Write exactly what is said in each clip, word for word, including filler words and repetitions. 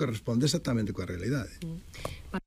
que responde exactamente coa realidade. Para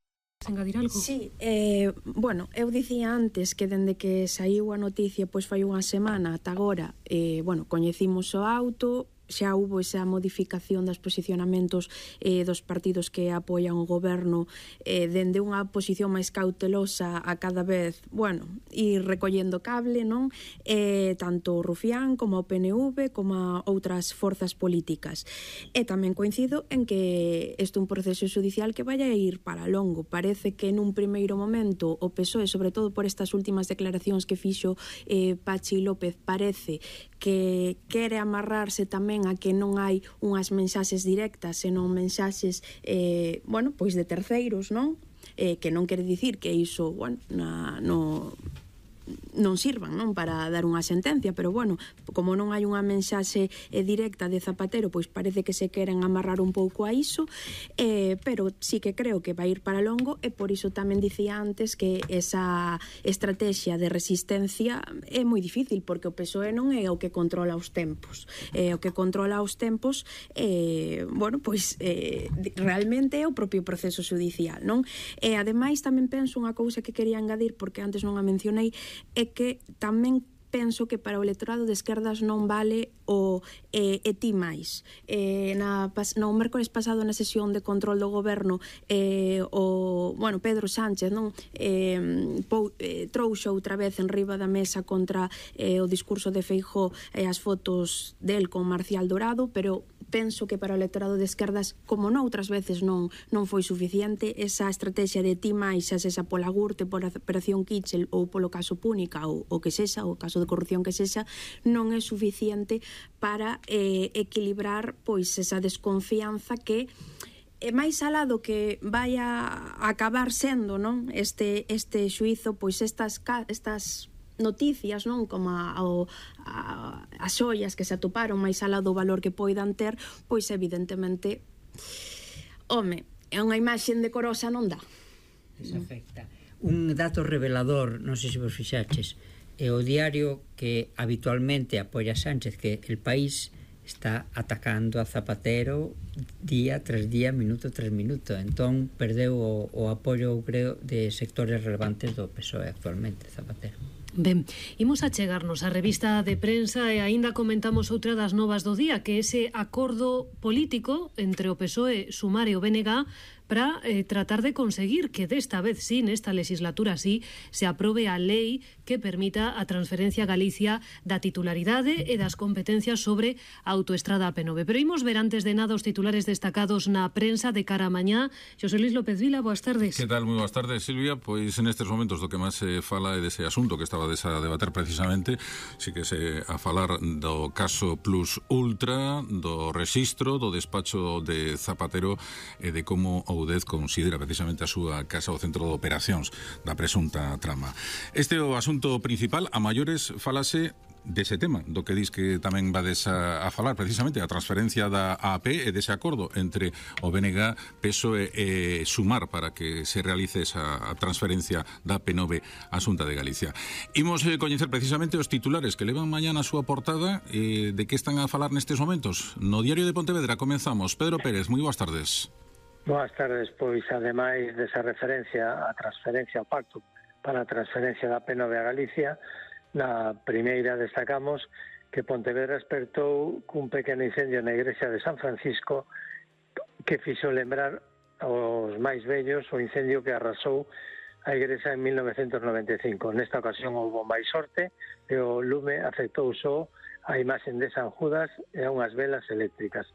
engadir algo? Sí, eh, bueno, eu dicía antes que dende que saiu a noticia pois fai unha semana ata agora, eh, bueno, coñecimos o auto, xa hubo esa modificación dos posicionamentos eh, dos partidos que apoian o goberno eh, dende unha posición máis cautelosa a cada vez, bueno, ir recollendo cable, non? Eh, tanto o Rufián como o P N V como a outras forzas políticas. E tamén coincido en que este é un proceso judicial que vai a ir para longo. Parece que nun primeiro momento o P S O E, sobre todo por estas últimas declaracións que fixo eh, Pachi López, parece que quere amarrarse tamén a que non hai unhas mensaxes directas, senón mensaxes, eh, bueno, pois de terceiros, non? Eh, que non quere dicir que iso, bueno, na, no... non sirvan, non, para dar unha sentencia, pero bueno, como non hai unha mensaxe eh, directa de Zapatero, pois parece que se queren amarrar un pouco a iso, eh, pero sí que creo que vai ir para longo, e por iso tamén dicía antes que esa estrategia de resistencia é moi difícil, porque o P S O E non é o que controla os tempos, eh, o que controla os tempos eh, bueno, pois eh, realmente é o propio proceso judicial, non? E ademais tamén penso unha cousa que quería engadir, porque antes non a mencionei, é que tamén penso que para o electorado de esquerdas non vale o eh, e ti máis. Eh, na, no mércores pasado na sesión de control do goberno eh, o, bueno, Pedro Sánchez non eh, pou, eh, trouxo outra vez en riba da mesa contra eh, o discurso de Feijóo e eh, as fotos del con Marcial Dorado, pero penso que para o electorado de esquerdas, como noutras veces non non foi suficiente, esa estrategia de ti máis, xa esa pola Gürtel, pola Operación Kitchel ou polo caso Púnica ou o que sexa, o caso de corrupción que sexa, non é suficiente para eh, equilibrar pois esa desconfianza que é máis alá do que vai a acabar sendo, non? Este este xuízo, pois estas estas noticias, non, como a, a, as ollas que se atoparon máis alá do valor que poidan ter, pois evidentemente, home, é unha imaxe decorosa non dá. Desafecta. Un dato revelador, non sei se vos fixaches, é o diario que habitualmente apoia Sánchez, que El País está atacando a Zapatero día tras día, minuto tras minuto, entón perdeu o, o apoio, creo, de sectores relevantes do P S O E actualmente, Zapatero. Ben, imos a chegarnos á revista de prensa e aínda comentamos outra das novas do día, que é ese acordo político entre o P S O E, Sumar e o B N G para eh, tratar de conseguir que desta vez sí, nesta legislatura sí, se aprobe a lei que permita a transferencia a Galicia da titularidade e das competencias sobre a autoestrada A P nove. Pero imos ver antes de nada os titulares destacados na prensa de cara a mañá. Xosé Luis López Vila, boas tardes. Que tal? Moi boas tardes, Silvia. Pois nestes momentos do que máis se fala é dese asunto que estaba a debater precisamente, si que se a falar do caso Plus Ultra, do rexistro, do despacho de Zapatero e de como o U D E Z considera precisamente a súa casa o centro de operacións da presunta trama. Este é o asunto principal. A maiores falase dese tema, do que dis que tamén vades a, a falar precisamente a transferencia da A P e dese acordo entre o B N G, P S O E e Sumar para que se realice esa transferencia da A P nove á Xunta de Galicia. Imos eh, coñecer precisamente os titulares que levan mañá na súa portada eh, de que están a falar nestes momentos. No Diario de Pontevedra comenzamos. Pedro Pérez, moi boas tardes. Boas tardes, pois ademais desa referencia a transferencia ao pacto para a transferencia da A P nove a Galicia, na primeira destacamos que Pontevedra despertou cun pequeno incendio na igrexa de San Francisco que fixo lembrar aos máis vellos o incendio que arrasou a igrexa en mil novecentos noventa e cinco. Nesta ocasión houve máis sorte e o lume afectou só a imaxen de San Judas e a unhas velas eléctricas.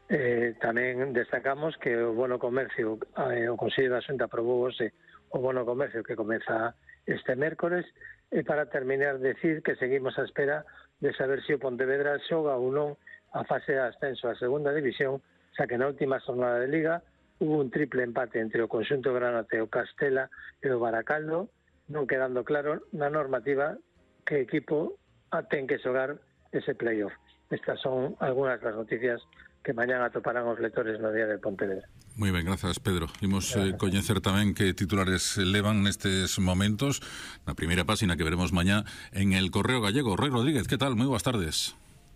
Eh, tamén destacamos que o bono comercio, eh, o Consello da Xunta aprobou hoxe o bono comercio que comeza este mércores. E para terminar, decir que seguimos a espera de saber se o Pontevedra xoga ou non a fase de ascenso á segunda división, xa que na última jornada de Liga hubo un triple empate entre o conxunto granate, o Castela e o Baracaldo, non quedando claro na normativa que equipo ten que xogar ese playoff. Estas son algunhas das noticias que mañán atoparán os lectores no día de Pontevedra. Moi ben, grazas, Pedro. Imos eh, coñecer tamén que titulares levan nestes momentos na primeira páxina que veremos mañá en El Correo Gallego. Rei Rodríguez, que tal? Moi boas tardes.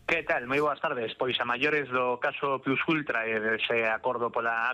Que tal? Moi boas tardes. Pois a maiores do caso Plus Ultra e dese acordo pola